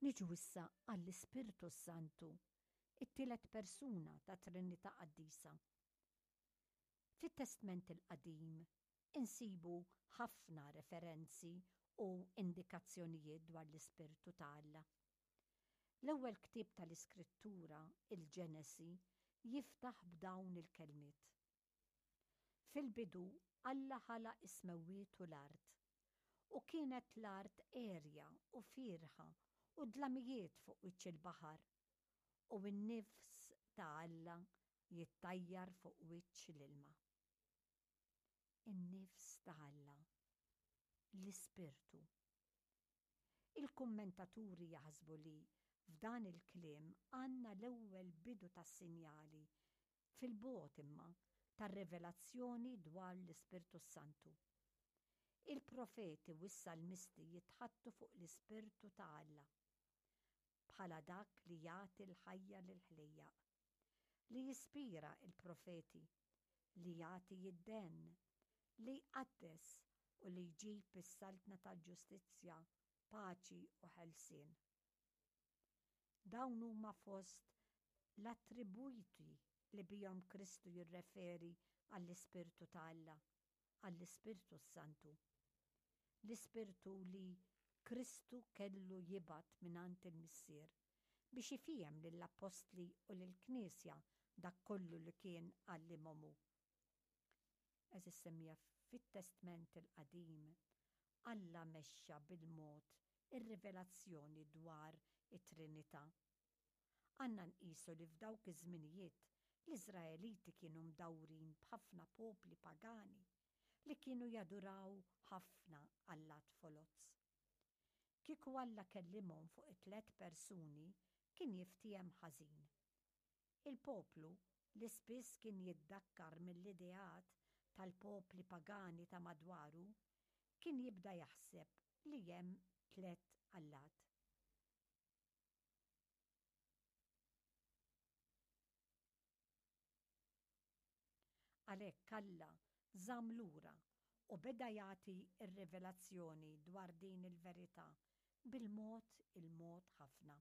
Niġu issa għall-Ispirtu s-Santu, it-tielet persuna tat-Trinità Qaddisa. Fit-Testment il-Qadim insibu ħafna referenzi u indikazzjonijiet dwar l-Ispirtu ta' Alla. L-ewwel ktieb tal-Iskrittura, il-Ġenesi, jiftaħ b'dawn il-kelmiet. Fil-bidu Alla ħalaq is-smewwiet u l-art. U kienet l-art għerja u fierħa u dlamijiet fuq wiċċ il-baħar, u n-nifs ta' Alla jittajjar fuq wiċċ l-ilma. In-nifs ta' Alla, l-Ispirtu. Il-kummentaturi jaħsbu li f'dan il-kliem għandna l-ewwel bidu tas-sinjali fil-bogħod imma, tar-rivelazzjoni dwar l-Ispirtu s-Santu. Il-profeti u s-salmisti jitħaddtu fuq l-Ispirtu ta' Alla bħala dak li jagħti l-ħajja lill-ħlejjaq, li jispira l-profeti, li jagħti d-denn, li jqaddes u li jġib is-saltna tal-ġustizzja, paċi u ħelsien. Dawn huma fost l-attribwiti li bihom Kristu jirreferi għall-Ispirtu ta' Alla, għall-Ispirtu s-Santu. L-Ispirtu li Kristu kellu jibgħat mingħand il-Missier biex ifiehem lill-appostli u lill-Knisja dak kollu li kien għallimhom hu. Għeżież semmiegħa fit-Testment il-Qadim, Alla mexxa bil-mod ir-rivelazzjoni dwar it-Trinità. Għandna nqisu li f'dawk iż-żminijiet l-Iżraeliti kienu mdawrin b'ħafna popli pagani li kienu jaduraw ħafna allat foloz. Kieku Alla kellimhom fuq it-tlett persuni kien jiftiehem ħażin. Il-poplu, li spiss kien jiddakkar mill-ideat tal-popli pagani ta' madwaru, kien jibda jaħseb li hemm tlett allat. Għalhekk Alla żamm lura u beda jagħti r-rivelazzjoni dwar din il-verità bil-mod il-mod ħafna.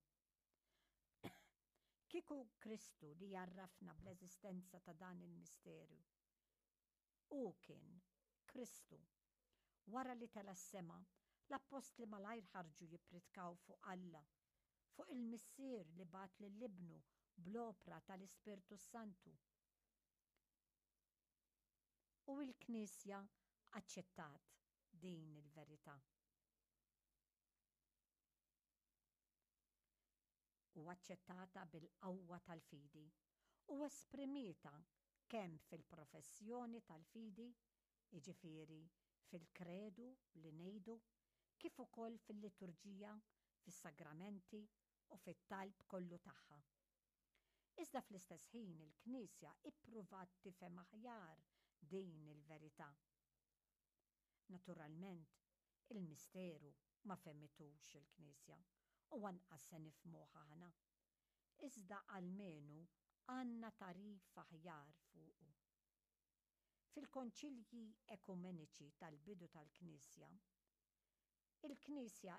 Kieku Kristu li jgħarrafna bl-eżistenza ta' dan il-misteru. Hu kien Kristu. Wara li tela' s-sema, l-appostli malajr ħarġu jippritkaw fuq Alla, fuq il-Missier li bagħat lil Ibnu bl-opra tal-Ispirtu s-Santu. U l-Knisja aċċettat din il-verità. U aċċettata bil-qawwa tal-fidi u esprimietha kemm fil-professjoni tal-fidi, jiġifieri fil-kredu li ngħidu, kif ukoll fil-liturġija, fis-sagramenti u fit-talb kollu tagħha. Iżda fl-istess ħin il-Knisja ippruvat tifhem aħjar din il-verità. Naturalment, il-misteru ma fehmitux il-Knisja u anqas se nifhmuh aħna. Iżda almenu għandna tagħrif aħjar fuqu. Fil-konċilji ekumeniċi tal-bidu tal-Knisja, il-Knisja.